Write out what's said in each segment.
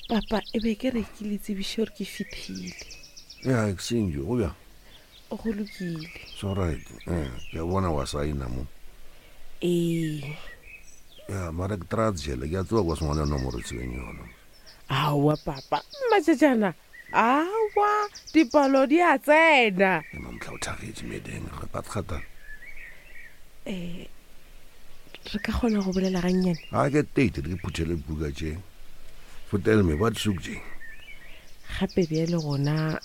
Papa, e be ke re ke le tsebiše gore ke fihlile. Ya, exchange, go bjang? Go lokile. It's all right. Eh, ke a bona wa saina mo. Ee. Ya, mara ke try jele, ke a tseba kwa sengwana nomoro tsebeng yona. Aowa papa, mmatšatšana. Aowa, dipalo di a tsena. Ke mamtlha o thagetše medeng, re patgatana. Eh, re ka kgona go bolela gannyane? A ke tate ke phuthele buka tše. Fotel me ba tsuk tše. Gape bjale gona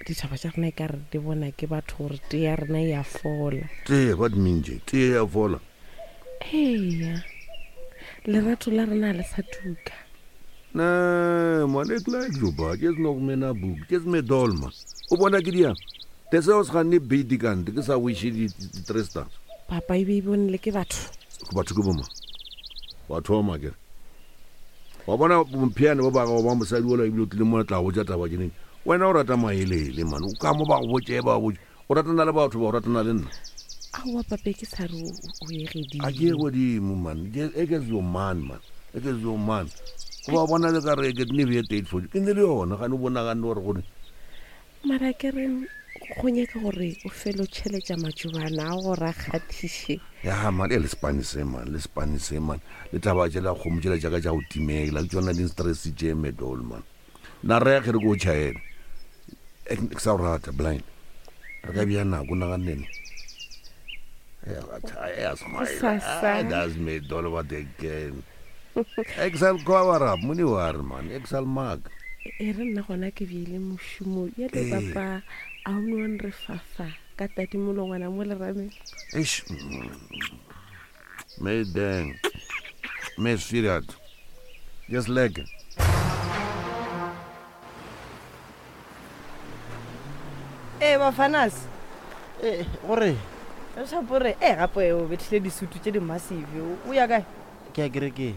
ditaba tša rena e ka re di bona ke batho gore tee ya rena e a fola. Tee, what mean tše? Tee ya fola. Eya, lerato la rena le sa tuka. Ne, man, ek like jou ba. Jy's nog me na boek. Jy's me dol man. O bona ke diang? Te seo se ganne beat kante ke sa wishe di di three stars. Papa e be e bonele ke batho. Ke batho ke boma. Wa thoma ke. Wa bona bomphiane ba ba gago ba mosadi ola ebile o tlile mo tla botša taba ke neng. Wena o rata maelele man. O ka mo ba go botše ba botše. O ratana le batho ba o ratana le nna. Aowa pape ke sa re o ye gedimo. A ke ye godimo man. Ke e ke your man man. E ke your man. Go ba bona le ka re ke ne be date for you. Ke ne le yona ga ne bona ga ne gore gore. Mara ke re go nyaka gore o felo tšheletša matšobana a gore a kgathiše. Ya man e le spane se man le spane se man. Le taba tšela kgomo tšela tša ka tša go timela ke tšona di stress tše medol man. Na re ge re ko tšhaela ke sa go rata blind re ka bja nako nagannene that's me dolo what again ek sal cover up mone wa re man ek sal mark e re nna gona ke bjele mošomo ya le papa a o no re fafa ka tadimolongwana mo lerameng eish Mayday. Me serious. Just lekker. Ee bafanas. Ee, gore. Šapore, ee gape o bethile disutu tše di massive. O ya kae? Ke ya kerekeng.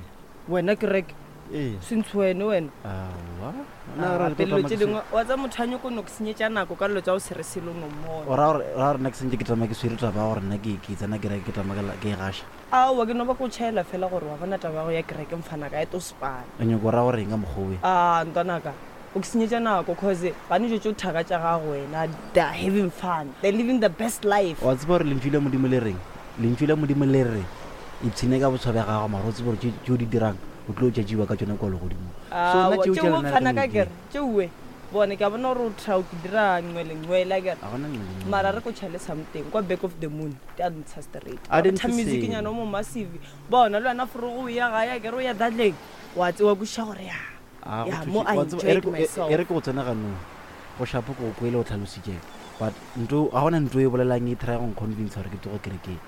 Wena kereke? Ee. Sentsho wene wena. Aowa. Nna re tlo tlo tše dingwe wa tsa motho a nyoko no ke senyetša nako ka dilo tša go se re selo no mmona. O ra gore ra gore nna ke sentše ke tama ke swere taba ya gore nna ke ke tsena kereke ke tama ke e gaša. Aowa ke no ba ko tšhaela fela gore wa bona taba ya go ya kereke mfana ka e to spana. O nyoko ra gore eng ka mokgwa owe? Ah ntwanaka o ke senyetša nako cause ba ne tšo thaka tša gago wena they are having fun they're living the best life. Wa tseba gore lentšu la Modimo le reng? Lentšu la Modimo le re ipshine ka boswa bja gago mara o tsebe gore tše o di dirang o tlo tšatšiwa ka tšona kua legodimong. So nna Aowa, tšeo tša tšeo lena fana re ka no kere tšeoe bone ke a bona gore o try o ke dira nngwe le nngwe la kere Ga gona nngwe le nngwe. mara re ko tšhale something kwa back of the moon di a ntsha straight A di Tha ntshe music selo. nyana o mo massive bona le wena forogo o ya gae a kere o ya dadleng wa tsewa kwešiša gore ya A go ya thuše- mo I wa tseba, e re enjoyed ke- e- myself e re ke go tsena ganong go shapo ke go kwele o tlhalositše but nto ga gona nto e bolelang e try go nconvince gore ke tsoge kerekeng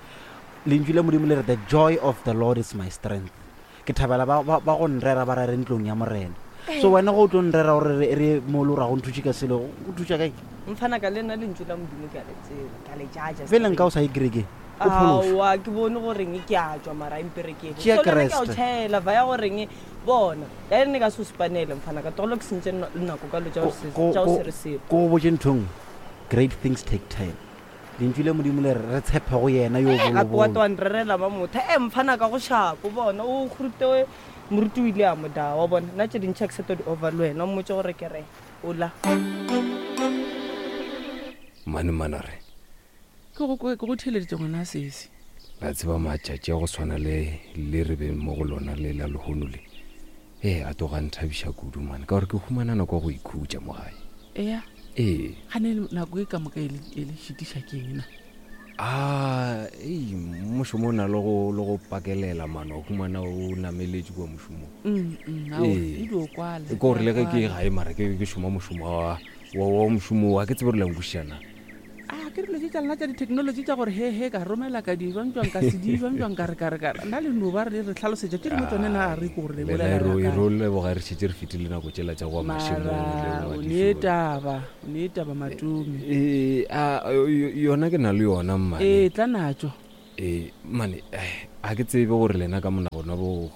lentšu la modimo le re the joy of the lord is my strength Ke thabela ba, ba, ba go nrera ba rere ntlong ya Morena. So wena go o tlo nrera gore re, re mo le gore ga go nthuše ka selo, go thuša kae? Mfana ka le nna lentšu la Modimo ke a le tseba, ke a le jaja. Bjale nka o sa ye kerekeng, o phološwe. Aowa, ke bone goreng ke a tšwa mara a mperekele. Tšea So le nna ke a o Kriste. tšhaela, vaya goreng bona. Ka ene ka se o spanele mfana ka tlogelo ke sentše nako ka dilo tša go se, Ko, tša go ko, se re selo. ko go botše ntho e nngwe, great things take time. Lentšu la Modimo le re re tshepe go yena yo Gape wa bolobolo. twa nrerela ba motha e mfana ka go šapo bona o kgurute moruti o ile a mo da wa bona nna tše dintšhi a ke sa tlo di over le wena o mmotse gore ke re ola. Mane Manare. Ke go ke go theeleditše ngwana sesi. La tseba matšatši a go swana le le re beng mo go lona le la lehono le. Ee, a tloga a nthabiša kudu mane ka gore ke humana nako ya go ikhutša mo gae. Eya. Ee. Gane nako e ka moka e le e le šitiša ke eng na? A ei mošomo o na le go le go pakelela mano wa humana o nameletše kua mošomong. Mm, mm, aowa, Ee. e dio kwala. Ke gore le ge ke gae mara ke ke šoma mošomo wa wa wa mošomo wa ke tsebe gore la nkwešiša na. A ke dilo tše tša lena tša di-technology tša gore he he ka romela ka di jwang jwang ka se di jwang jwang ka re ka re ka re nna le no ba re re tlhalosetša tše dingwe tsone na re ko gore le Lena bolela e ro e bjang. ro leboga re šetše re fetile nako tšela tša go ya mašemong le mara bo o nee madišong. taba o nee taba matome Ee, a yo- yona ke na le yona mmane. ee tla natšo Ee, mane eh, ga ke tsebe gore lena ka monagano bo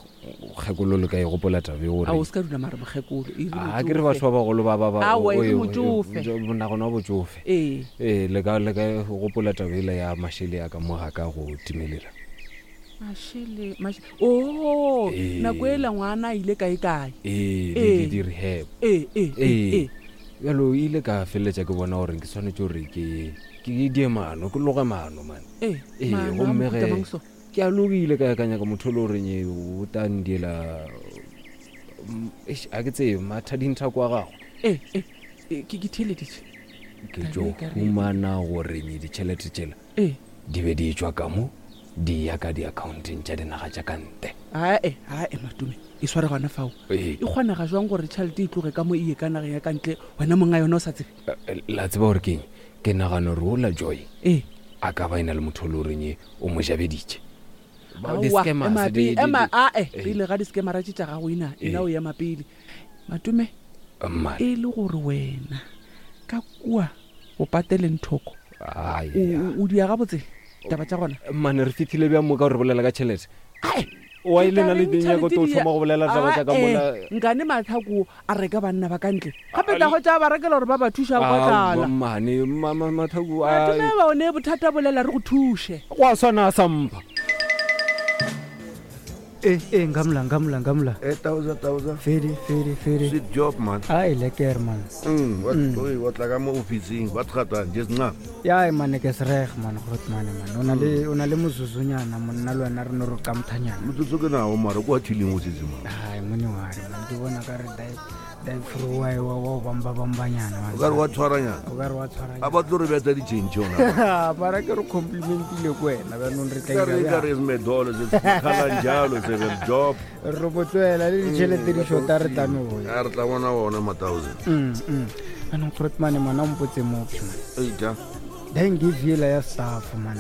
kgekolo le ka e gopola taba e gore a o se ka dula mare mokgekolo e re a ke re batho ba bagolo ba ba ba Aowa, e re oe, motšofe. oe, monagano wa botšofe ee ee le ka le ka gopola taba ela ya mašele ya ka mo ga ka go timelela. Mašele o Ee. nako e la ngwana a ile kae kae? Ee, Ee. di-rehab. Ee, ee, ee, Ee. ee. Bjalo ile ka feleletša ke bona gore ke swanetše gore ke die maano, ke loge maano man. Ee, Ee, maano a gomme mohuta ge mang so? ke a logile ka ya ka nyaka motho o le goreng e, o tla ndiela, eish, a ke tsebe mathadinthako a gagwe. Ee, ee, ee, ke theeleditše. Ke Taba tlo e ka re- humana gore nye ditšhelete tšela Ee. di be di tšwa ka mo di ya ka di-accounteng tša dinaga tša ka ntle. Ae, ae, Matome, e sware gona fao. Ee. E kgonega jwang gore tšhelete e tloge ka mo e ye ka nageng ya ka ntle, wena monga yona o sa tsebe? La tseba gore keng? Ke nagana gore ola Joy Ee. a ka ba e na le motho o le goreng e o mo jabeditše. Ba- Aowa, di-scammers, ema di- pele, di- ema, di- ae, Ee. pele ga di-scammera tše tša gago ena, ena Ee. o ema pele. Matome, Mmane. e le gore wena ka kua o pateleng thoko, Ai, o dia gabotse taba tša gona? Mmane, re fihlile bjang mo ka gore re bolela ka tšhelete? Ae, Wa ke ile na tla le reng dinyako tšhelete to di ya- thoma go bolela taba tša ka Ae, mola? nkane matlhako a reka banna ba ka ntle gape tla go tša ba rekela gore ba ba thuša kwa Aowa, tlala. mmane, matlhako a- Matome ba one bothata bolela re go thuše. Go a swana a sampa. Eh, eh, ngamla, ngamla, ngamla. Eh, tauza, tauza. Fedi, fedi, fedi. Sweet job, man. Ai, lekker, man. Oi, wa tla ka mo ofising, wa tgatang, just nna. Ya, man, ke sreg, man, groot man, man. O na le, o na le mozuzunyana, monna le wena re no re qamthanyana. Motsotso ke nao, mara kwa thileng o setse, man. Ai, mone wa re, man, ke bona ka re dai, dai fru wa wa wa bamba bambanyana, man. O ka re wa tshwaranyana. O ka re wa tshwaranyana. A ba tlo re betsa di-change yona. Mara ke re complimentile ko wena, jaanong re tla Ka ira re ka bjang? re smedolo, se kgalang jalo, se re job. Re bo tlohela le ditšhelete di shota re tla no ya. A re tla bona ona ma-thousand. Anong groot man, ngwana o mpotse mophi, man. Eita. Then give yela ya staff, man.